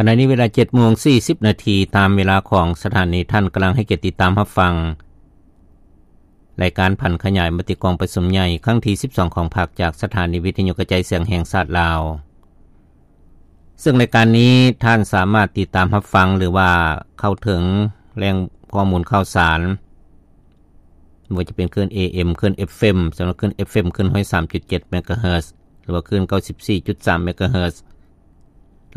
ຂະນະນີ້ເວລາ ເຈັດໂມງສີ່ສິບນາທີ ຕາມເວລາຂອງສະຖານີ. ທ່ານກຳລັງໃຫ້ກຽດຕິດຕາມຮັບຟັງ ລາຍການຜັນຂະຫຍາຍມະຕິກອງປະຊຸມໃຫຍ່ຄັ້ງທີ ສິບສອງ ຂອງພາກ ຈາກສະຖານີວິທະຍຸກະຈາຍສຽງແຫ່ງຊາດລາວ. ເຊິ່ງລາຍການນີ້ທ່ານສາມາດຕິດຕາມຮັບຟັງ ຫຼືວ່າເຂົ້າເຖິງແຫຼ່ງຂໍ້ມູນຂ່າວສານ ບໍ່ວ່າຈະເປັນຄື້ນ ເອເອັມ ຄື້ນ ເອັຟເອັມ ສຳລັບຄື້ນ ເອັຟເອັມ ຄື້ນ ຮ້ອຍສາມຈຸດເຈັດ ເມກາເຮີດ ຫຼືວ່າຄື້ນ ເກົ້າສິບສີ່ຈຸດສາມ ເມກາເຮີດ.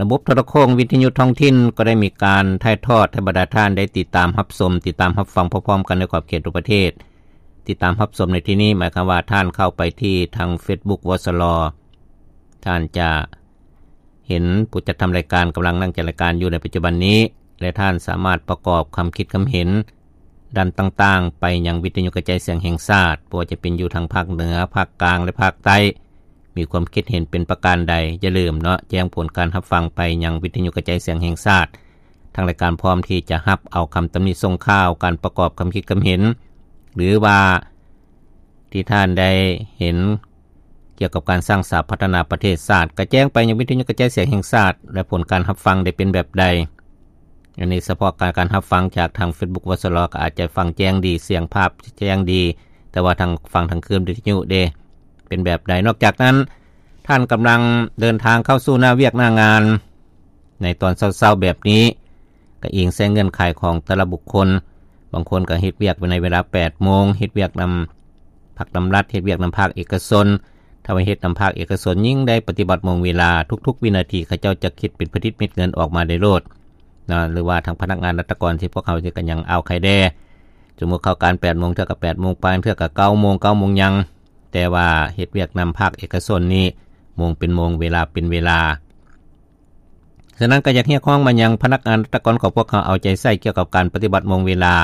ລະບົບໂທລະໂຄ່ງວິທະຍຸທ້ອງຖິ່ນກໍໄດ້ມີການຖ່າຍທອດໃຫ້ບັນດາທ່ານໄດ້ຕິດຕາມຮັບຊົມ, ຕິດຕາມຮັບຟັງພ້ອມໆກັນໃນຂອບເຂດທົ່ວປະເທດ. ຕິດຕາມຮັບຊົມໃນທີ່ນີ້ໝາຍຄວາມວ່າທ່ານເຂົ້າໄປທີ່ທາງເຟສບຸກ ວສລ ທ່ານຈະເຫັນຜູ້ຈັດທຳລາຍການກຳລັງນັ່ງຈັດລາຍການຢູ່ໃນປັດຈຸບັນນີ້ ແລະ ທ່ານສາມາດປະກອບຄຳຄິດຄຳເຫັນດ້ານຕ່າງໆໄປຍັງວິທະຍຸກະຈາຍສຽງແຫ່ງຊາດ, ບໍ່ວ່າຈະເປັນຢູ່ທາງພາກເໜືອ, ພາກກາງ ແລະ ພາກໃຕ້. ມີຄວາມຄິດເຫັນເປັນປະການໃດ, ຢ່າລືມເນາະ ແຈ້ງຜົນການຮັບຟັງໄປຍັງວິທະຍຸກະຈາຍສຽງແຫ່ງຊາດ. ທາງລາຍການພ້ອມທີ່ຈະຮັບເອົາຄຳຕຳໜິສົ່ງຂ່າວ, ການປະກອບຄຳຄິດຄຳເຫັນ ຫຼືວ່າທີ່ທ່ານໄດ້ເຫັນກ່ຽວກັບການສ້າງສາພັດທະນາປະເທດຊາດ, ກະແຈ້ງໄປຍັງວິທະຍຸກະຈາຍສຽງແຫ່ງຊາດ ແລະ ຜົນການຮັບຟັງໄດ້ເປັນແບບໃດ. ອັນນີ້ສະເພາະການ ການຮັບຟັງຈາກທາງເຟສບຸກ ວສລ ກໍອາດຈະຟັງແຈ້ງດີ, ສຽງພາບແຈ້ງດີ, ແຕ່ວ່າທາງ ຟັງທາງຄື້ນວິທະຍຸເດ ເປັນແບບໃດ. ນອກຈາກນັ້ນ, ທ່ານກຳລັງເດີນທາງເຂົ້າສູ່ໜ້າວຽກໜ້າງານ ໃນຕອນເຊົ້າໆແບບນີ້ ກໍອີງໃສ່ເງື່ອນໄຂຂອງແຕ່ລະບຸກຄົນ. ບາງຄົນກໍເຮັດວຽກໃນເວລາ ແປດໂມງ, ເຮັດວຽກນຳພັກນຳລັດ, ເຮັດວຽກນຳພາກເອກະຊົນ. ຖ້າວ່າເຮັດນຳພາກເອກະຊົນ, ຍິ່ງໄດ້ປະຕິບັດໂມງເວລາ, ທຸກໆວິນາທີເຂົາເຈົ້າຈະຄິດເປັນຜະລິດເມັດເງິນອອກມາໄດ້ໂລດ. ນະ ຫຼືວ່າທາງພະນັກງານລັດຖະກອນທີ່ພວກເຮົານີ້ກໍຍັງເອົາໄຂ່ແດ່ ສົມມຸດເຂົ້າການແປດໂມງ ເທື່ອກໍແປດໂມງປາຍ ເທື່ອກໍເກົ້າໂມງ ເກົ້າໂມງຫຍັງ, ແຕ່ວ່າເຮັດວຽກນຳພາກເອກະຊົນນີ້ ໂມງເປັນໂມງ ເວລາເປັນເວລາ. ສະນັ້ນກໍຢາກຮຽກຮ້ອງມາຍັງພະນັກງານລັດຖະກອນຂອງພວກເຮົາ ເອົາໃຈໃສ່ກ່ຽວກັບການປະຕິບັດໂມງເວລາ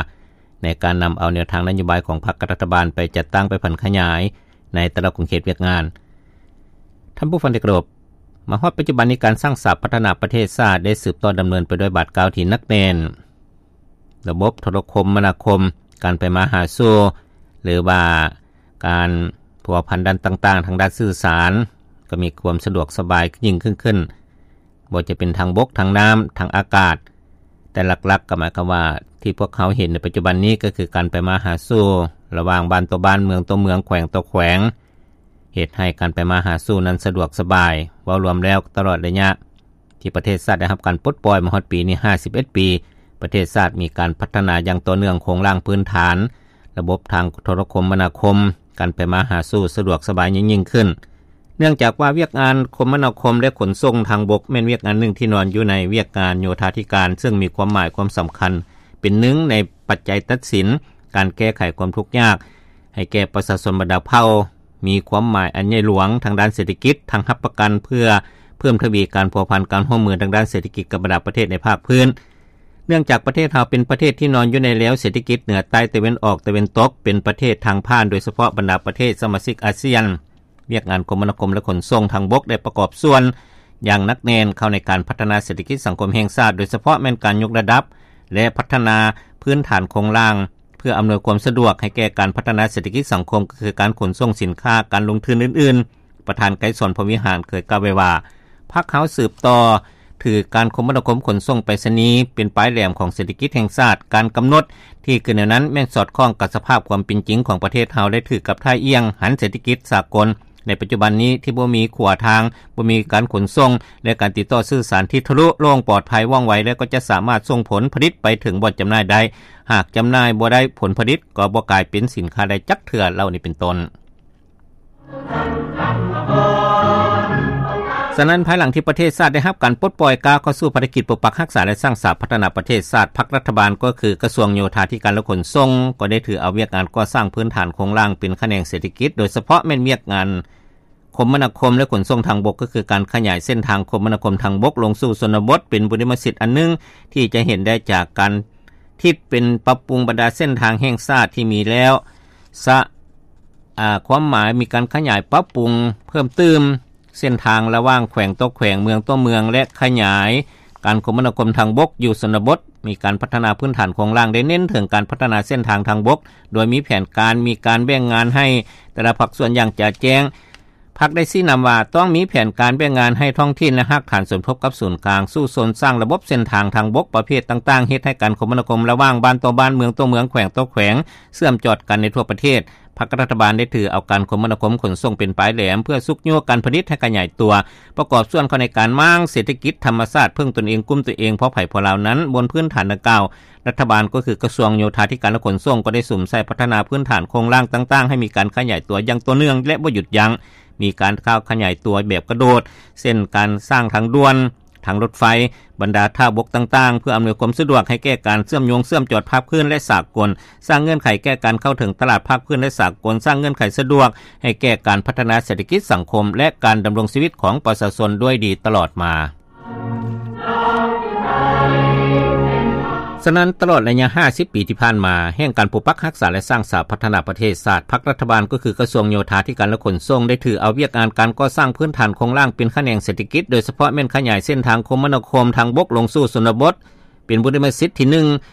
ໃນການນຳເອົາແນວທາງນະໂຍບາຍຂອງພັກກັບລັດຖະບານໄປຈັດຕັ້ງ ໄປຜັນຂະຫຍາຍໃນແຕ່ລະຂົງເຂດວຽກງານ. ທ່ານຜູ້ຟັງທີ່ເຄົາລົບ, ມາຮອດປັດຈຸບັນນີ້ ການສ້າງສາພັດທະນາປະເທດຊາດໄດ້ສືບຕໍ່ດຳເນີນໄປດ້ວຍບາດກ້າວທີ່ໜັກແໜ້ນ. ລະບົບໂທລະຄົມມະນາຄົມ, ການໄປມາຫາສູ່ ຫຼືວ່າການພົວພັນດ້ານຕ່າງໆ ທາງດ້ານສື່ສານ ກໍມີຄວາມສະດວກສະບາຍຍິ່ງຂຶ້ນ, ບໍ່ວ່າຈະເປັນທາງບົກ, ທາງນ້ຳ, ທາງອາກາດ. ແຕ່ຫຼັກໆກໍໝາຍຄວາມວ່າ ທີ່ພວກເຮົາເຫັນໃນປັດຈຸບັນນີ້ ກໍຄືການໄປມາຫາສູ່ລະຫວ່າງບ້ານຕໍ່ບ້ານ, ເມືອງຕໍ່ເມືອງ, ແຂວງຕໍ່ແຂວງ, ເຮັດໃຫ້ການໄປມາຫາສູ່ນັ້ນສະດວກສະບາຍ. ເວົ້າລວມແລ້ວ, ຕະຫຼອດໄລຍະທີ່ປະເທດຊາດໄດ້ຮັບການປົດປ່ອຍມາຮອດປີນີ້ ຫ້າສິບເອັດປີ, ປະເທດຊາດມີການພັດທະນາຢ່າງຕໍ່ເນື່ອງໂຄງລ່າງພື້ນຖານ, ລະບົບທາງໂທລະຄົມມະນາຄົມ, ການໄປມາຫາສູ່ສະດວກສະບາຍຍິ່ງໆຂຶ້ນ. ເນື່ອງຈາກວ່າວຽກງານຄົມມະນາຄົມ ແລະ ຂົນສົ່ງທາງບົກ ແມ່ນວຽກງານໜຶ່ງທີ່ນອນຢູ່ໃນວຽກງານໂຍທາທິການ, ເຊິ່ງມີຄວາມໝາຍຄວາມສຳຄັນເປັນໜຶ່ງໃນປັດໄຈຕັດສິນການແກ້ໄຂຄວາມທຸກຍາກໃຫ້ແກ່ປະຊາຊົນບັນດາເຜົ່າ, ມີຄວາມໝາຍອັນໃຫຍ່ຫຼວງທາງດ້ານເສດຖະກິດ, ທັງຮັບປະກັນເພື່ອເພີ່ມທະວີການພົວພັນການຮ່ວມມືທາງດ້ານເສດຖະກິດກັບບັນດາປະເທດໃນພາກພື້ນ. ເນື່ອງຈາກປະເທດເຮົາເປັນປະເທດທີ່ນອນຢູ່ໃນແລວເສດຖະກິດເໜືອໃຕ້ຕາເວັນອອກຕາເວັນຕົກ, ເປັນປະເທດທາງຜ່ານ, ໂດຍສະເພາະບັນດາປະເທດສະມາຊິກອາຊຽນ, ວຽກງານຄົມມະນາຄົມ ແລະ ຂົນສົ່ງທາງບົກໄດ້ປະກອບສ່ວນຢ່າງໜັກແໜ້ນເຂົ້າໃນການພັດທະນາເສດຖະກິດສັງຄົມແຫ່ງຊາດ, ໂດຍສະເພາະແມ່ນການຍົກລະດັບ ແລະ ພັດທະນາພື້ນຖານໂຄງລ່າງ ເພື່ອອຳນວຍຄວາມສະດວກໃຫ້ແກ່ການພັດທະນາເສດຖະກິດສັງຄົມ, ກໍຄືການຂົນສົ່ງສິນຄ້າ, ການລົງທຶນອື່ນໆ. ປະທານໄກສອນ ພົມວິຫານ ເຄີຍກ່າວໄວ້ວ່າ, ພັກເຮົາສືບຕໍ່ຖືການຄົມມະນາຄົມຂົນສົ່ງໄປສະນີເປັນປາຍແຫຼມຂອງເສດຖະກິດແຫ່ງຊາດ. ການກຳນົດທີ່ຂຶ້ນແນວນັ້ນແມ່ນສອດຄ່ອງກັບສະພາບຄວາມເປັນຈິງຂອງປະເທດເຮົາ ແລະ ຖືກກັບທ່າອ່ຽງຫັນເສດຖະກິດສາກົນໃນປັດຈຸບັນນີ້ ທີ່ບໍ່ມີຂົວທາງ, ບໍ່ມີການຂົນສົ່ງ ແລະ ການຕິດຕໍ່ສື່ສານທີ່ທະລຸໂລ່ງ, ປອດໄພ, ວ່ອງໄວ ແລະ ກໍຈະສາມາດສົ່ງຜົນຜະລິດໄປເຖິງບ່ອນຈຳໜ່າຍໄດ້. ຫາກຈຳໜ່າຍບໍ່ໄດ້, ຜົນຜະລິດກໍບໍ່ກາຍເປັນສິນຄ້າໄດ້ຈັກເທື່ອ, ເຫຼົ່ານີ້ເປັນຕົ້ນ. ສະນັ້ນ, ພາຍຫຼັງທີ່ປະເທດຊາດໄດ້ຮັບການປົດປ່ອຍ ກ້າວເຂົ້າສູ່ພາລະກິດປົກປັກຮັກສາ ແລະ ສ້າງສາພັດທະນາປະເທດຊາດ, ພັກລັດຖະບານ ກໍຄືກະຊວງໂຍທາທິການ ແລະ ຂົນສົ່ງ ກໍໄດ້ຖືເອົາວຽກງານກໍ່ສ້າງພື້ນຖານໂຄງລ່າງເປັນຂະແໜງເສດຖະກິດ, ໂດຍສະເພາະແມ່ນວຽກງານຄົມມະນາຄົມ ແລະ ຂົນສົ່ງທາງບົກ, ກໍຄືການຂະຫຍາຍເສັ້ນທາງຄົມມະນາຄົມທາງບົກລົງສູ່ຊົນນະບົດ, ເປັນບຸລິມະສິດອັນໜຶ່ງທີ່ຈະເຫັນໄດ້ຈາກການ ທິດເປັນປັບປຸງບັນດາເສັ້ນທາງແຫ່ງຊາດທີ່ມີແລ້ວ ສະ ອາ ຄວາມໝາຍມີການຂະຫຍາຍປັບປຸງເພີ່ມຕື່ມເສັ້ນທາງລະຫວ່າງແຂວງຕໍ່ແຂວງ, ເມືອງຕໍ່ເມືອງ ແລະ ຂະຫຍາຍການຄົມມະນາຄົມທາງບົກຢູ່ຊົນນະບົດ, ມີການພັດທະນາພື້ນຖານໂຄງລ່າງ, ໄດ້ເນັ້ນເຖິງການພັດທະນາເສັ້ນທາງທາງບົກ ໂດຍມີແຜນການ, ມີການແບ່ງງານໃຫ້ແຕ່ລະພາກສ່ວນຢ່າງຈະແຈ້ງ. ພັກໄດ້ຊີ້ນຳວ່າ ຕ້ອງມີແຜນການແບ່ງງານໃຫ້ທ້ອງຖິ່ນ ແລະ ຮາກຖານສົມທົບກັບສູນກາງ ສູ້ຊົນສ້າງລະບົບເສັ້ນທາງທາງບົກປະເພດຕ່າງໆ ເຮັດໃຫ້ການຄົມມະນາຄົມລະຫວ່າງບ້ານຕໍ່ບ້ານ ເມືອງຕໍ່ເມືອງ ແຂວງຕໍ່ແຂວງ ເຊື່ອມຈອດກັນໃນທົ່ວປະເທດ. ພັກລັດຖະບານໄດ້ຖືເອົາການຄົມມະນາຄົມຂົນສົ່ງເປັນປາຍແຫຼມ ເພື່ອຊຸກຍູ້ການຜະລິດໃຫ້ຂະຫຍາຍຕົວ, ປະກອບສ່ວນເຂົ້າໃນການມ້າງເສດຖະກິດທຳມະຊາດ ເພິ່ງຕົນເອງ, ກຸ້ມຕົວເອງ ພໍໃຜພໍລາວນັ້ນ. ບົນພື້ນຖານດັ່ງກ່າວ, ລັດຖະບານ ກໍຄືກະຊວງໂຍທາທິການ ແລະ ຂົນສົ່ງ ກໍໄດ້ສຸມໃສ່ພັດທະນາພື້ນຖານໂຄງລ່າງຕ່າງໆ ໃຫ້ມີການຂະຫຍາຍຕົວຢ່າງຕໍ່ເນື່ອງ ແລະ ບໍ່ຢຸດຢັ້ງ, ມີການກ້າວຂະຫຍາຍຕົວແບບກະໂດດ ເຊັ່ນ ການສ້າງທາງດ່ວນ, ທາງລົດໄຟ, ບັນດາທ່າບົກຕ່າງໆ ເພື່ອອຳນວຍຄວາມສະດວກໃຫ້ແກ່ການເຊື່ອມໂຍງເຊື່ອມຈອດພາກພື້ນ ແລະ ສາກົນ, ສ້າງເງື່ອນໄຂແກ່ການເຂົ້າເຖິງຕະຫຼາດພາກພື້ນ ແລະ ສາກົນ, ສ້າງເງື່ອນໄຂສະດວກໃຫ້ແກ່ການພັດທະນາເສດຖະກິດສັງຄົມ ແລະ ການດຳລົງຊີວິດຂອງປະຊາຊົນດ້ວຍດີຕະຫຼອດມາ. ສະນັ້ນ, ຕະຫຼອດໄລຍະຫ້າສິບປີທີ່ຜ່ານມາ, ແຫ່ງການປົກປັກຮັກສາ ແລະ ສ້າງສາພັດທະນາປະເທດຊາດ, ພັກລັດຖະບານ ກໍຄືກະຊວງໂຍທາທິການ ແລະ ຂົນສົ່ງ ໄດ້ຖືເອົາວຽກງານການກໍ່ສ້າງພື້ນຖານໂຄງລ່າງເປັນຂະແໜງເສດຖະກິດ, ໂດຍສະເພາະແມ່ນຂະຫຍາຍເສັ້ນທາງຄົມມະນາຄົມທາງບົກລົງສູ່ຊົນນະບົດ ເປັນບຸລິມະສິດທີໜຶ່ງ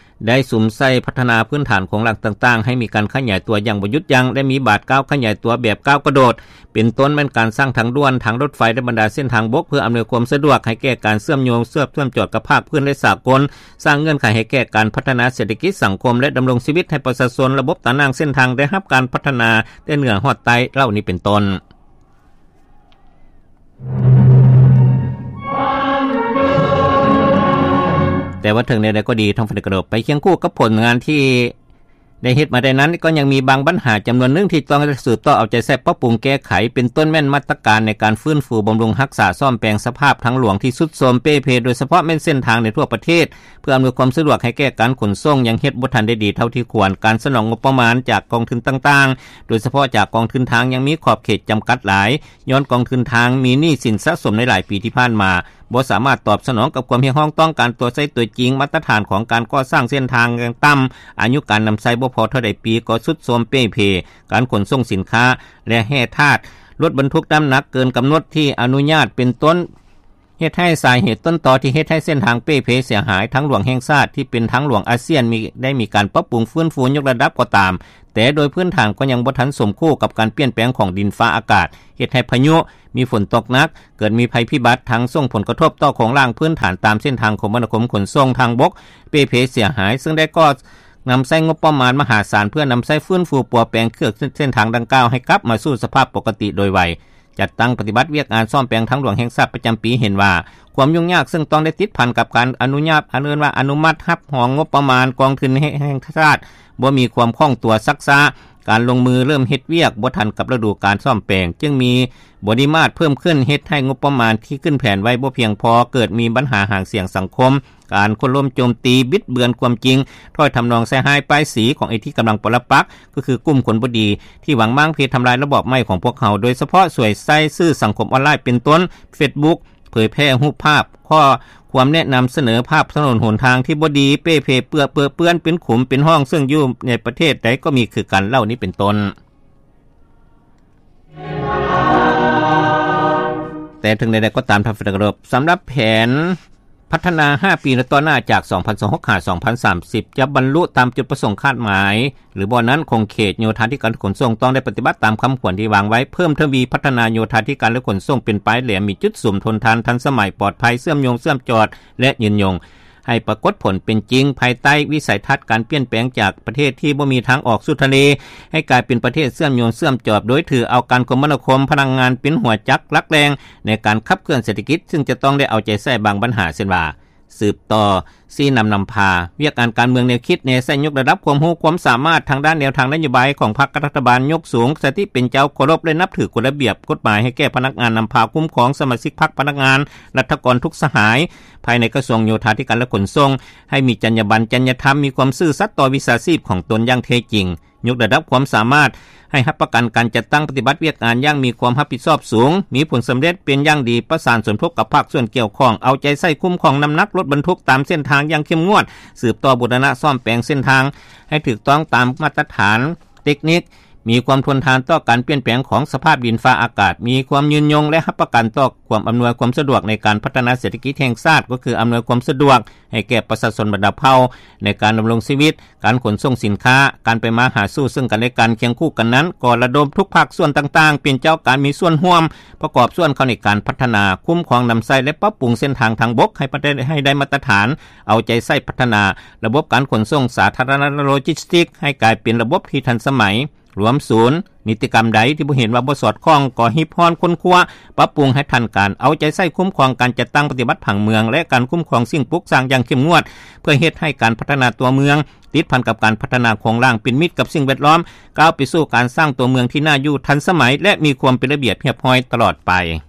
ໄດ້ສຸມໃສ່ພັດທະນາພື້ນຖານໂຄງລ່າງຕ່າງໆ ໃຫ້ມີການຂະຫຍາຍຕົວຢ່າງບໍ່ຢຸດຢັ້ງ ແລະ ມີບາດກ້າວຂະຫຍາຍຕົວແບບກ້າວກະໂດດ ເປັນຕົ້ນແມ່ນການສ້າງທາງດ່ວນ, ທາງລົດໄຟ ແລະ ບັນດາເສັ້ນທາງບົກ ເພື່ອອຳນວຍຄວາມສະດວກໃຫ້ແກ່ການເຊື່ອມໂຍງ, ເຊື່ອມ ເຊື່ອມຈອດກັບພາກພື້ນ ແລະ ສາກົນ, ສ້າງເງື່ອນໄຂໃຫ້ແກ່ການພັດທະນາເສດຖະກິດສັງຄົມ ແລະ ດຳລົງຊີວິດໃຫ້ປະຊາຊົນ, ລະບົບຕາໜ່າງເສັ້ນທາງໄດ້ຮັບການພັດທະນາແຕ່ເໜືອຮອດໃຕ້ ເຫຼົ່ານີ້ເປັນຕົ້ນ. ແຕ່ວ່າເຖິງແນວໃດກໍດີ, ທາງຝ່າຍກະໂດດໄປຄຽງຄູ່ກັບຜົນງານທີ່ໄດ້ເຮັດມາໄດ້ນັ້ນ, ກໍຍັງມີບາງບັນຫາຈຳນວນໜຶ່ງທີ່ຕ້ອງໄດ້ສືບຕໍ່ເອົາໃຈໃສ່ປັບປຸງແກ້ໄຂ, ເປັນຕົ້ນແມ່ນມາດຕະການໃນການຟື້ນຟູບຳລຸງຮັກສາສ້ອມແປງສະພາບທາງຫຼວງທີ່ຊຸດໂຊມເປ່ເພ, ໂດຍສະເພາະແມ່ນເສັ້ນທາງໃນທົ່ວປະເທດ, ເພື່ອອຳນວຍຄວາມສະດວກໃຫ້ແກ່ການຂົນສົ່ງ ຍັງເຮັດບໍ່ທັນໄດ້ດີເທົ່າທີ່ຄວນ. ການສະໜອງງົບປະມານຈາກກອງທຶນຕ່າງໆ, ໂດຍສະເພາະຈາກກອງທຶນທາງ ຍັງມີຂອບເຂດຈຳກັດຫຼາຍ, ຍ້ອນກອງທຶນທາງມີໜີ້ສິນສະສົມໃນຫຼາຍປີທີ່ຜ່ານມາ, ບໍ່ສາມາດຕອບສະໜອງກັບຄວາມຮຽກຮ້ອງຕ້ອງການຕົວໃຊ້ຕົວຈິງ, ມາດຕະຖານຂອງການກໍ່ສ້າງເສັ້ນທາງຍັງຕ່ຳ, ອາຍຸການນຳໃຊ້ບໍ່ພໍເທົ່າໃດປີກໍຊຸດໂຊມເປ່ເພ, ການຂົນສົ່ງສິນຄ້າ ແລະ ແຮ່ທາດ, ລົດບັນທຸກນ້ຳໜັກເກີນກຳນົດທີ່ອະນຸຍາດ ເປັນຕົ້ນ ເຮັດໃຫ້ສາເຫດຕົ້ນຕໍທີ່ເຮັດໃຫ້ເສັ້ນທາງເປ່ເພເສຍຫາຍ, ທາງຫຼວງແຫ່ງຊາດທີ່ເປັນທາງຫຼວງອາຊຽນມີ ໄດ້ມີການປັບປຸງຟື້ນຟູຍົກລະດັບກໍຕາມ, ແຕ່ໂດຍພື້ນຖານກໍຍັງບໍ່ທັນສົມຄູ່ກັບການປ່ຽນແປງຂອງດິນຟ້າອາກາດ, ເຮັດໃຫ້ພາຍຸ, ມີຝົນຕົກໜັກ, ເກີດມີໄພພິບັດ, ທັງສົ່ງຜົນກະທົບຕໍ່ໂຄງລ່າງພື້ນຖານຕາມເສັ້ນທາງຄົມມະນາຄົມຂົນສົ່ງທາງບົກເປ່ເພເສຍຫາຍ, ເຊິ່ງໄດ້ກໍ່ນຳໃຊ້ງົບປະມານມະຫາສານ ເພື່ອນຳໃຊ້ຟື້ນຟູປົວແປງເຂືອກເສັ້ນທາງດັ່ງກ່າວໃຫ້ກັບມາສູ່ສະພາບປົກກະຕິໂດຍໄວ. ຈັດຕັ້ງປະຕິບັດວຽກງານສ້ອມແປງທາງຫຼວງແຫ່ງຊາດປະຈຳປີເຫັນວ່າ ຄວາມຫຍຸ້ງຍາກເຊິ່ງຕ້ອງໄດ້ຕິດພັນກັບການອະນຸຍາດ ອັນເອີ້ນວ່າອະນຸມັດຮັບຮອງງົບປະມານກອງທຶນແຫ່ງຊາດ ບໍ່ມີຄວາມຄ່ອງຕົວຊັກຊ້າ, ການລົງມືເລີ່ມເຮັດວຽກບໍ່ທັນກັບລະດູການສ້ອມແປງ, ຈຶ່ງມີບໍລິມາດເພີ່ມຂຶ້ນ ເຮັດໃຫ້ງົບປະມານທີ່ຂຶ້ນແຜນໄວ້ບໍ່ພຽງພໍ, ເກີດມີບັນຫາຫາງສຽງສັງຄົມ, ການໂຄ່ນລົ້ມໂຈມຕີ, ບິດເບືອນຄວາມຈິງ, ຖ້ອຍທຳນອງໃສ່ຮ້າຍປ້າຍສີຂອງເຈົ້າທີ່ກຳລັງປະລັກປັກ, ກໍຄືກຸ່ມຄົນບໍ່ດີທີ່ຫວັງມ້າງເພທຳລາຍລະບອບໃໝ່ຂອງພວກເຮົາ, ໂດຍສະເພາະສວຍໃຊ້ສື່ສັງຄົມອອນລາຍເປັນຕົ້ນ ເຟສບຸກ, ເຜີຍແຜ່ຮູບພາບ, ຂໍ້ຄວາມແນະນຳສະເໜີພາບຖະໜົນຫົນທາງທີ່ບໍ່ດີ, ເປ່ເພເປື້ອເປິເປື້ອນເປັນຂຸມເປັນຮ່ອງ, ເຊິ່ງຢູ່ໃນປະເທດໃດກໍມີຄືກັນ ເຫຼົ່ານີ້ເປັນຕົ້ນ. ແຕ່ເຖິງໃດໆກໍຕາມ, ທ່ານທີ່ເຄົາລົບ, ສຳລັບແຜນ ພັດທະນາຫ້າປີຕໍ່ໜ້າ ຈາກ ສອງພັນຊາວຫົກ ຫາ ສອງພັນສາມສິບ ຈະບັນລຸຕາມຈຸດປະສົງຄາດໝາຍ ຫຼື ບໍ່ນັ້ນ ຂົງເຂດໂຍທາທິການຂົນສົ່ງຕ້ອງໄດ້ປະຕິບັດຕາມຄຳຂວັນທີ່ວາງໄວ້, ເພີ່ມທະວີພັດທະນາໂຍທາທິການ ແລະ ຂົນສົ່ງເປັນປາຍແຫຼມ, ມີຈຸດສຸມທົນທານ, ທັນສະໄໝ, ປອດໄພ, ເຊື່ອມໂຍງ, ເຊື່ອມຈອດ ແລະ ຍືນຍົງ, ໃຫ້ປາກົດຜົນເປັນຈິງ ພາຍໃຕ້ວິໄສທັດການປ່ຽນແປງຈາກປະເທດທີ່ບໍ່ມີທາງອອກສູ່ທະເລ ໃຫ້ກາຍເປັນປະເທດເຊື່ອມໂຍງເຊື່ອມຈອດ, ໂດຍຖືເອົາການຄົມມະນາຄົມພະນັກງານເປັນຫົວຈັກຫຼັກແຫຼ່ງ ໃນການຂັບເຄື່ອນເສດຖະກິດ, ຊຶ່ງຈະຕ້ອງໄດ້ເອົາໃຈໃສ່ບາງບັນຫາ ເຊັ່ນວ່າ ສືບຕໍ່ຊີ້ນຳນຳພາວຽກງານການເມືອງ, ແນວຄິດແນວໃຊ້, ຍົກລະດັບຄວາມຮູ້ຄວາມສາມາດທາງດ້ານແນວທາງນະໂຍບາຍຂອງພັກ, ລັດຖະບານ, ຍົກສູງສະຕິເປັນເຈົ້າ, ເຄົາລົບ ແລະ ນັບຖືກົດລະບຽບກົດໝາຍ, ໃຫ້ແກ່ພະນັກງານນຳພາ, ຄຸ້ມຄອງສະມາຊິກພັກ, ພະນັກງານ, ລັດຖະກອນທຸກສະຫາຍ ພາຍໃນກະຊວງໂຍທາທິການ ແລະ ຂົນສົ່ງ, ໃຫ້ມີຈັນຍາບັນ, ຈັນຍາທຳ, ມີຄວາມຊື່ສັດຕໍ່ວິຊາຊີບຂອງຕົນຢ່າງແທ້ຈິງ. ຍົກລະດັບຄວາມສາມາດໃຫ້ຮັບປະກັນການຈັດຕັ້ງປະຕິບັດວຽກງານຢ່າງມີຄວາມຮັບຜິດຊອບສູງ, ມີຜົນສຳເລັດເປັນຢ່າງດີ, ປະສານສົມທົບກັບພາກສ່ວນກ່ຽວຂ້ອງ, ເອົາໃຈໃສ່ຄຸ້ມຄອງນ້ຳໜັກລົດບັນທຸກຕາມເສັ້ນທາງຢ່າງເຂັ້ມງວດ, ສືບຕໍ່ບູລະນະສ້ອມແປງເສັ້ນທາງໃຫ້ຖືກຕ້ອງຕາມມາດຕະຖານເຕັກນິກ, ມີຄວາມທົນທານຕໍ່ການປ່ຽນແປງຂອງສະພາບດິນຟ້າອາກາດ, ມີຄວາມຍືນຍົງ ແລະ ຮັບປະກັນຕໍ່ຄວາມອຳນວຍຄວາມສະດວກໃນການພັດທະນາເສດຖະກິດແຫ່ງຊາດ, ກໍຄືອຳນວຍຄວາມສະດວກໃຫ້ແກ່ປະຊາຊົນບັນດາເຜົ່າໃນການດຳລົງຊີວິດ, ການຂົນສົ່ງສິນຄ້າ, ການໄປມາຫາສູ່ເຊິ່ງກັນແລະກັນ. ຄຽງຄູ່ກັນນັ້ນ, ກໍລະດົມທຸກພາກສ່ວນຕ່າງໆ ເປັນເຈົ້າການມີສ່ວນຮ່ວມ ປະກອບສ່ວນເຂົ້າໃນການພັດທະນາ, ຄຸ້ມຄອງນຳໃຊ້ ແລະ ປັບປຸງເສັ້ນທາງທາງບົກໃຫ້ປະເທດ ໃຫ້ໄດ້ມາດຕະຖານ, ເອົາໃຈໃສ່ພັດທະນາລະບົບການຂົນສົ່ງສາທາລະນະ ໂລຈິສຕິກ ໃຫ້ກາຍເປັນລະບົບທີ່ທັນສະໄໝ. ລວມສູນ, ນິຕິກຳໃດທີ່ບໍ່ເຫັນວ່າບໍ່ສອດຄ່ອງ ກໍຮິບຮ້ອນຄົ້ນຄວ້າ, ປັບປຸງໃຫ້ທັນການ, ເອົາໃຈໃສ່ຄຸ້ມຄອງການຈັດຕັ້ງປະຕິບັດຜັງເມືອງ ແລະ ການຄຸ້ມຄອງສິ່ງປຸກສ້າງຢ່າງເຂັ້ມງວດ, ເພື່ອເຮັດໃຫ້ການພັດທະນາຕົວເມືອງ ຕິດພັນກັບການພັດທະນາໂຄງລ່າງເປັນມິດກັບສິ່ງແວດລ້ອມ, ກ້າວໄປສູ່ການສ້າງຕົວເມືອງທີ່ໜ້າຢູ່, ທັນສະໄໝ ແລະ ມີຄວາມເປັນລະບຽບຮຽບຮ້ອຍຕະຫຼອດໄປ.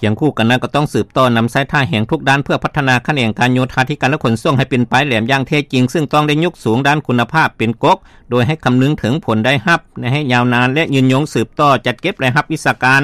ຄຽງຄູ່ກັນນັ້ນກໍຕ້ອງສືບຕໍ່ນຳໃຊ້ທ່າແຮງທຸກດ້ານເພື່ອພັດທະນາຂະແໜງການໂຍທາທິການ ແລະ ຂົນສົ່ງໃຫ້ເປັນປາຍແຫຼມຢ່າງແທ້ຈິງ, ເຊິ່ງຕ້ອງໄດ້ຍົກສູງດ້ານຄຸນນະພາບເປັນກົກ, ໂດຍໃຫ້ຄຳນຶງເຖິງຜົນໄດ້ຮັບໃນໄລຍະຍາວນານ ແລະ ຍືນຍົງ, ສືບຕໍ່ຈັດເກັບລາຍຮັບວິຊາການ,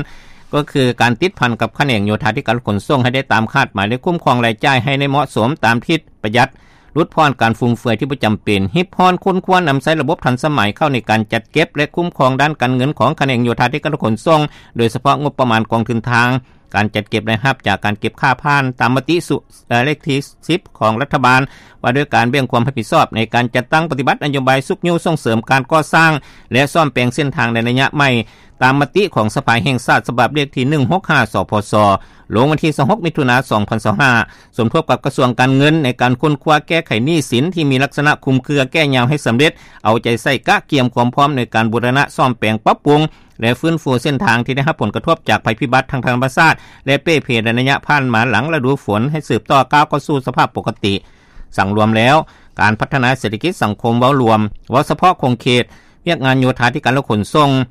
ກໍຄືການຕິດພັນກັບຂະແໜງໂຍທາທິການ ແລະ ຂົນສົ່ງໃຫ້ໄດ້ຕາມຄາດໝາຍ ແລະ ຄຸ້ມຄອງລາຍຈ່າຍໃຫ້ໄດ້ເໝາະສົມຕາມທິດ, ປະຢັດ, ຫຼຸດຜ່ອນການຟຸມເຟືອຍທີ່ບໍ່ຈຳເປັນ, ຮິບຮ້ອນຄົ້ນຄວ້ານຳໃຊ້ລະບົບທັນສະໄໝເຂົ້າໃນການຈັດເກັບ ແລະ ຄຸ້ມຄອງດ້ານການເງິນຂອງຂະແໜງໂຍທາທິການ ແລະ ຂົນສົ່ງ, ໂດຍສະເພາະງົບປະມານກອງທຶນທາງ, ການຈັດເກັບລາຍຮັບຈາກການເກັບຄ່າຜ່ານຕາມມະຕິ ເອີ ເລກທີສິບຂອງລັດຖະບານ ວ່າດ້ວຍການແບ່ງຄວາມຮັບຜິດຊອບໃນການຈັດຕັ້ງປະຕິບັດນະໂຍບາຍຊຸກຍູ້ສົ່ງເສີມການກໍ່ສ້າງ ແລະ ສ້ອມແປງເສັ້ນທາງໃນໄລຍະໃໝ່ ຕາມມະຕິຂອງສະພາແຫ່ງຊາດ ສະບັບເລກທີໜຶ່ງຫົກຫ້າ ສພສ ລົງວັນທີຊາວຫົກ ມິຖຸນາ ສອງພັນຊາວຫ້າ, ສົມທົບກັບກະຊວງການເງິນໃນການຄົ້ນຄວ້າແກ້ໄຂໜີ້ສິນທີ່ມີລັກສະນະຄຸມເຄືອແກ່ຍາວໃຫ້ສຳເລັດ, ເອົາໃຈໃສ່ກະກຽມຄວາມພ້ອມໃນການບູລະນະສ້ອມແປງປັບປຸງ ແລະ ຟື້ນຟູເສັ້ນທາງທີ່ໄດ້ຮັບຜົນກະທົບຈາກໄພພິບັດທາງທຳມະຊາດ ແລະ ເປ່ເພໃນໄລຍະຜ່ານມາຫຼັງລະດູຝົນ ໃຫ້ສືບຕໍ່ກ້າວເຂົ້າສູ່ສະພາບປົກກະຕິ. ສັງລວມແລ້ວ, ການພັດທະນາເສດຖະກິດສັງຄົມເວົ້າລວມ, ເວົ້າສະເພາະຂົງເຂດວຽກງານໂຍທາທິການ ແລະ ຂົນສົ່ງ,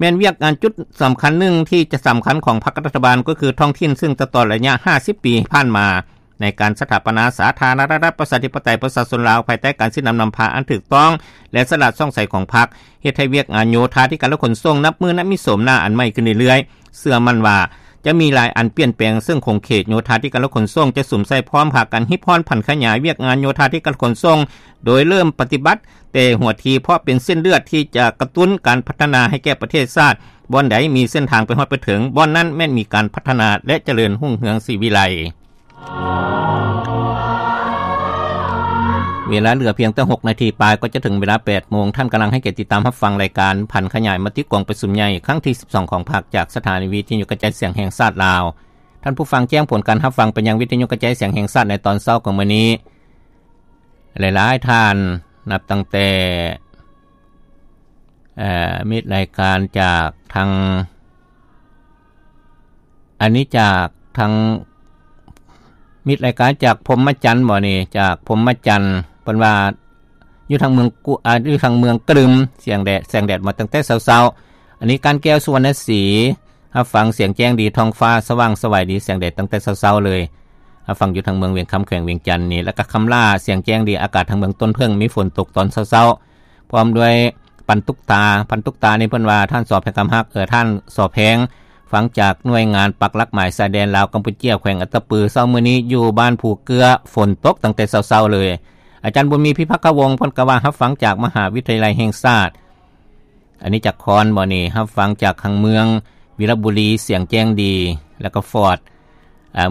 ແມ່ນວຽກງານຈຸດສຳຄັນໜຶ່ງທີ່ຈະສຳຄັນຂອງພັກກັບລັດຖະບານ ກໍຄືທ້ອງຖິ່ນ, ເຊິ່ງຕະຫຼອດໄລຍະຫ້າສິບປີຜ່ານມາ ໃນການສະຖາປະນາສາທາລະນະລັດ ປະຊາທິປະໄຕ ປະຊາຊົນລາວ ພາຍໃຕ້ການຊີ້ນຳນຳພາອັນຖືກຕ້ອງ ແລະ ສະຫຼາດຊ່ອງໃສຂອງພັກ, ເຮັດໃຫ້ວຽກງານໂຍທາທິການ ແລະ ຂົນສົ່ງ ນັບມື້ນັບມີໂສມໜ້າອັນໃໝ່ຂຶ້ນເລື້ອຍໆ. ເຊື່ອໝັ້ນວ່າຈະມີຫຼາຍອັນປ່ຽນແປງ, ເຊິ່ງຂົງເຂດໂຍທາທິການ ແລະ ຂົນສົ່ງ ຈະສຸມໃສ່ພ້ອມພາກັນຮິບຮ້ອນຜັນຂະຫຍາຍວຽກງານໂຍທາທິການ ແລະ ຂົນສົ່ງ, ໂດຍເລີ່ມປະຕິບັດແຕ່ຫົວທີ, ເພາະເປັນເສັ້ນເລືອດທີ່ຈະກະຕຸ້ນການພັດທະນາໃຫ້ແກ່ປະເທດຊາດ. ບ່ອນໃດມີເສັ້ນທາງໄປຮອດໄປເຖິງ, ບ່ອນນັ້ນແມ່ນມີການພັດທະນາ ແລະ ຈະເລີນຮຸ່ງເຮືອງສີວິໄລ. ເວລາເຫຼືອພຽງແຕ່ຫົກນາທີປາຍ ກໍຈະເຖິງເວລາແປດໂມງ. ທ່ານກຳລັງໃຫ້ກຽດຕິດຕາມຮັບຟັງລາຍການຜັນຂະຫຍາຍມະຕິກອງປະຊຸມໃຫຍ່ຄັ້ງທີສິບສອງຂອງພັກ ຈາກສະຖານີວິທະຍຸກະຈາຍສຽງແຫ່ງຊາດລາວ. ທ່ານຜູ້ຟັງແຈ້ງຜົນການຮັບຟັງໄປຍັງວິທະຍຸກະຈາຍສຽງແຫ່ງຊາດໃນຕອນເຊົ້າຂອງມື້ນີ້. ຫຼາຍໆທ່ານ ນັບຕັ້ງແຕ່ ເອີ ມິດລາຍການຈາກທາງ ອັນນີ້ຈາກທາງ ມິດລາຍການຈາກພົມມະຈັນບໍນີ້? ຈາກພົມມະຈັນ ເພິ່ນວ່າຢູ່ທາງເມືອງກຸ ອາ ຢູ່ທາງເມືອງກະດຶມ ສຽງແດດ ແສງແດດມາຕັ້ງແຕ່ເຊົ້າໆ. ອັນນີ້ການແກ້ວ ສຸວັນນະສີ ຮັບຟັງສຽງແຈ້ງດີ ທ້ອງຟ້າສະຫວ່າງສະຫວາຍດີ ສຽງແດດຕັ້ງແຕ່ເຊົ້າໆເລີຍ. ຮັບຟັງຢູ່ທາງເມືອງວຽງຄຳ ແຂວງວຽງຈັນນີ້ ແລ້ວກໍຄຳຫຼ້າ ສຽງແຈ້ງດີ ອາກາດທາງເມືອງຕົ້ນເຜິ້ງມີຝົນຕົກຕອນເຊົ້າໆ. ພ້ອມດ້ວຍປັນຕຸກຕາ ປັນຕຸກຕານີ້ເພິ່ນວ່າ ທ່ານ ສ ແພງຄຳຮັກ ເອີ ທ່ານ ສ ແພງ ຟັງຈາກໜ່ວຍງານປັກຫຼັກໝາຍຊາຍແດນລາວກຳປູເຈຍ ແຂວງອັດຕະປື ເຊົ້າມື້ນີ້ຢູ່ບ້ານພູເກື້ອ ຝົນຕົກຕັ້ງແຕ່ເຊົ້າໆເລີຍ. ອາຈານບຸນມີ ພິພັກຄະວົງ ເພິ່ນກໍວ່າຮັບຟັງຈາກມະຫາວິທະຍາໄລແຫ່ງຊາດ ອັນນີ້ຈາກຄອນບໍນີ້? ຮັບຟັງຈາກທາງເມືອງວິລະບູລີ ສຽງແຈ້ງດີ ແລ້ວກໍຟອດ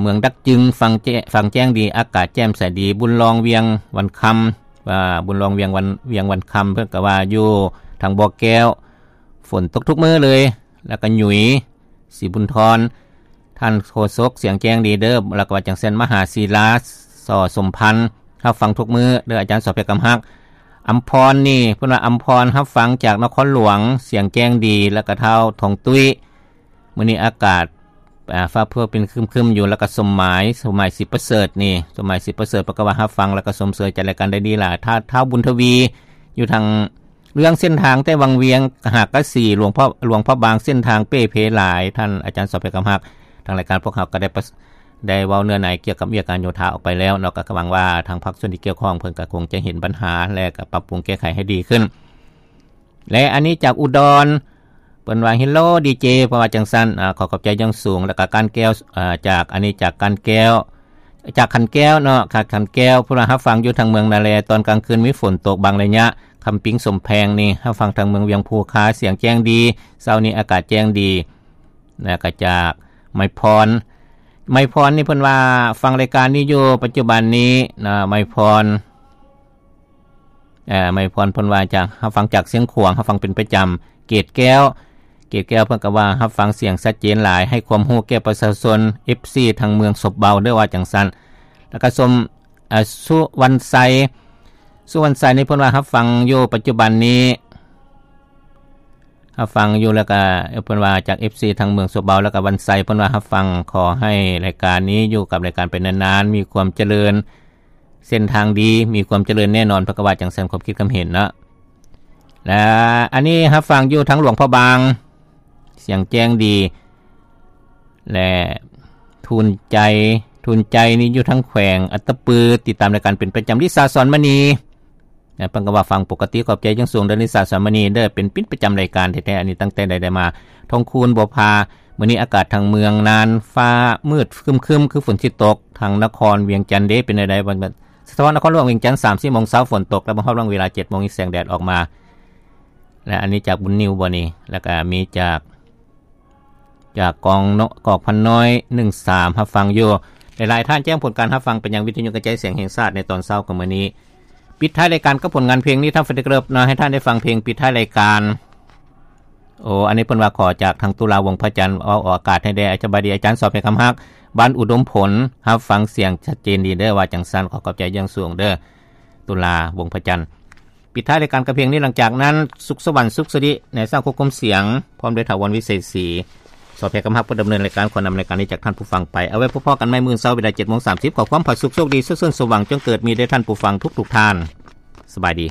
ເມືອງດັກຈຶງ ຟັງແຈ້ງ ຟັງແຈ້ງດີ ອາກາດແຈ່ມໃສດີ. ບຸນລອງ ວຽງວັນຄຳ ວ່າ ບຸນລອງ ວຽງວັນ ວຽງວັນຄຳ ເພິ່ນກໍວ່າຢູ່ທາງບໍ່ແກ້ວ ຝົນຕົກທຸກມື້ເລີຍ. ແລ້ວກໍຫຍຸຍ ສີບຸນທອນ ທ່ານໂຄສົກ ສຽງແຈ້ງດີເດີ. ແລ້ວກໍວ່າຈັ່ງຊັ້ນ ມະຫາສີລາ ສ ສົມພັນ ຮັບຟັງທຸກມື້ເດີ ອາຈານ ສ ແພງຄຳຮັກ. ອຳພອນນີ້ ເພິ່ນວ່າ ອຳພອນ ຮັບຟັງຈາກນະຄອນຫຼວງ ສຽງແຈ້ງດີ ແລ້ວກໍທ້າວທອງຕຸ້ຍ ມື້ນີ້ອາກາດ ອາ ຟ້າເພິ່ງເປັນຄຶ້ມໆຢູ່. ແລ້ວກໍສົມໝາຍ ສົມໝາຍ ສີປະເສີດນີ້ ສົມໝາຍ ສີປະເສີດ ເພິ່ນກໍວ່າຮັບຟັງ ແລ້ວກໍຊົມເຊີຍຈັດລາຍການໄດ້ດີຫຼາຍ. ທ້າວ ທ້າວບຸນທະວີ ຢູ່ທາງເລື່ອງເສັ້ນທາງແຕ່ວັງວຽງຫາກະສີ ຫຼວງພະ ຫຼວງພະບາງ ເສັ້ນທາງເປ່ເພຫຼາຍ. ທ່ານອາຈານ ສ ແພງຄຳຮັກ ທາງລາຍການພວກເຮົາກໍໄດ້ປະ ໄດ້ເວົ້າເນື້ອໃນກ່ຽວກັບວຽກງານໂຍທາອອກໄປແລ້ວເນາະ, ກໍຫວັງວ່າທາງພາກສ່ວນທີ່ກ່ຽວຂ້ອງເພິ່ນກໍຄົງຈະເຫັນບັນຫາ ແລະ ກໍປັບປຸງແກ້ໄຂໃຫ້ດີຂຶ້ນ. ແລະ ອັນນີ້ຈາກອຸດອນ ເພິ່ນວ່າ ເຮລໂລ ດີເຈ ເພິ່ນວ່າຈັ່ງຊັ້ນ. ອາ ຂໍຂອບໃຈຢ່າງສູງ. ແລ້ວກໍການແກ້ວ ອາ ຈາກ ອັນນີ້ຈາກການແກ້ວ ຈາກຂັນແກ້ວເນາະ ຈາກຂັນແກ້ວ ເພິ່ນວ່າຮັບຟັງຢູ່ທາງເມືອງນາແລ ຕອນກາງຄືນມີຝົນຕົກບາງໄລຍະ. ຄຳປິງ ສົມແພງນີ້ ຮັບຟັງທາງເມືອງວຽງພູຄາ ສຽງແຈ້ງດີ, ເຊົ້ານີ້ອາກາດແຈ້ງດີ. ແລ້ວກໍຈາກໄມພອນ ໄມພອນນີ້ເພິ່ນວ່າຟັງລາຍການນີ້ຢູ່ປັດຈຸບັນນີ້ນະ ໄມພອນ ເອີ່ ໄມພອນເພິ່ນວ່າຈາກ ຮັບຟັງຈາກຊຽງຂວາງ ຮັບຟັງເປັນປະຈຳ. ເກດແກ້ວ ເກດແກ້ວເພິ່ນກໍວ່າຮັບຟັງສຽງຊັດເຈນຫຼາຍ ໃຫ້ຄວາມຮູ້ແກ່ປະຊາຊົນ ເອັຟຊີ ທາງເມືອງສົບເບົາເດີ ວ່າຈັ່ງຊັ້ນ. ແລ້ວກໍຊົມ ອາ ສຸວັນໄຊ ສຸວັນໄຊນີ້ເພິ່ນວ່າຮັບຟັງຢູ່ປັດຈຸບັນນີ້ ຮັບຟັງຢູ່ ແລ້ວກໍເພິ່ນວ່າຈາກ ເອັຟຊີ ທາງເມືອງສົບເບົາ ແລ້ວກໍວັນໄຊເພິ່ນວ່າຮັບຟັງ ຂໍໃຫ້ລາຍການນີ້ຢູ່ກັບລາຍການໄປນານໆ ມີຄວາມຈະເລີນ ເສັ້ນທາງດີ ມີຄວາມຈະເລີນແນ່ນອນ ເພິ່ນກໍວ່າຈັ່ງຊັ້ນ ຄວາມຄິດຄວາມເຫັນເນາະ. ແລະ ອັນນີ້ຮັບຟັງຢູ່ທາງຫຼວງພະບາງ ສຽງແຈ້ງດີ ແລະ ທູນໃຈ ທູນໃຈນີ້ຢູ່ທາງແຂວງອັດຕະປື ຕິດຕາມລາຍການເປັນປະຈຳ. ລິສາ ສອນມະນີ ເພິ່ນກໍວ່າຟັງປົກກະຕິ ຂອບໃຈຢ່າງສູງເດີ ລິສາ ສອນມະນີເດີ ເປັນ ເປັນປະຈຳລາຍການແທ້ໆ ອັນນີ້ຕັ້ງແຕ່ໃດໆມາ. ທອງຄູນ ບົວພາ ມື້ນີ້ອາກາດທາງເມືອງນານ ຟ້າມືດຄຶ້ມໆ ຄືຝົນຊິຕົກ. ທາງນະຄອນວຽງຈັນເດ ເປັນແນວໃດ? ສະທ້ອນນະຄອນຫຼວງວຽງຈັນ ສາມສີ່ໂມງເຊົ້າ ຝົນຕົກ ແລ້ວມາຮອດວັງເວລາເຈັດໂມງ ມີແສງແດດອອກມາ. ແລະ ອັນນີ້ຈາກບຸນນິວບໍ່ນີ້? ແລ້ວກໍມີຈາກ ຈາກກອງເນາະ ກອກພັນນ້ອຍ ໜຶ່ງສາມ ຮັບຟັງຢູ່. ຫຼາຍໆທ່ານແຈ້ງຜົນການຮັບຟັງໄປຍັງວິທະຍຸກະຈາຍສຽງແຫ່ງຊາດໃນຕອນເຊົ້າຂອງມື້ນີ້. ປິດທ້າຍລາຍການກັບຜົນງານເພງ Nithan Freddy Club ເນາະ ໃຫ້ທ່ານໄດ້ຟັງເພງປິດທ້າຍລາຍການ. ໂອ ອັນນີ້ເພິ່ນວ່າຂໍຈາກທາງຕຸລາ ວົງພະຈັນ ເອົາອອກອາກາດໃຫ້ແດ່. ສະບາຍດີອາຈານ ສອບໃຫ້ຄຳຮັກ ບ້ານອຸດົມຜົນ ຮັບຟັງສຽງຊັດເຈນດີເດີ ວ່າຈັ່ງຊັ້ນ ຂໍຂອບໃຈຢ່າງສູງເດີ ຕຸລາ ວົງພະຈັນ. ປິດທ້າຍລາຍການກັບເພງນີ້ ຫຼັງຈາກນັ້ນ ສຸກສະຫວັນ ສຸກສະລິ ນາຍຊ່າງຄວບຄຸມສຽງ ພ້ອມດ້ວຍຖາວອນ ວິເສດສີ ສອບແພກຳຮັກ ຜູ້ດຳເນີນລາຍການ ຂໍນຳລາຍການນີ້ຈາກທ່ານຜູ້ຟັງໄປ. ເອົາໄວ້ພົບພໍ້ກັນໃໝ່ມື້ເຊົ້າ ເວລາເຈັດໂມງສາມສິບ. ຂໍຄວາມຜາສຸກໂຊກດີ ສຸກເສີນສົມຫວັງ ຈົ່ງເກີດມີແດ່ທ່ານຜູ້ຟັງທຸກໆທ່ານ. ສະບາຍດີ.